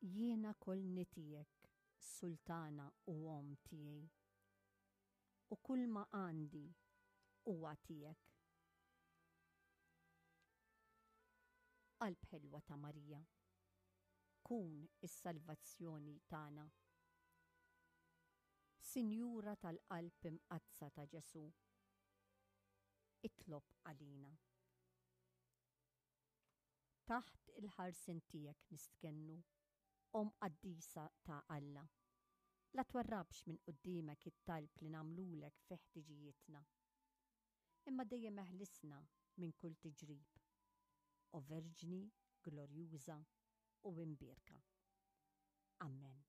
Jiena kollni tiegħek, Sultana u Omm tiegħi, u kulma għandi huwa tiegħek. Qalb ħelwa ta' Marija, kun is-salvazzjoni tagħna. Sinjura tal-Qalb Imqaddsa ta' Ġesù, itlob għalina. Taħt il-ħarsien tiegħek nistkennu, Omm qaddisa ta' Alla. La twarrabx minn quddiemek it-talb li nagħmlulek fi ħtiġijietna. Imma dejjem eħlisna minn kull tiġrib, O Verġni glorjuża u imbierka. Ammen.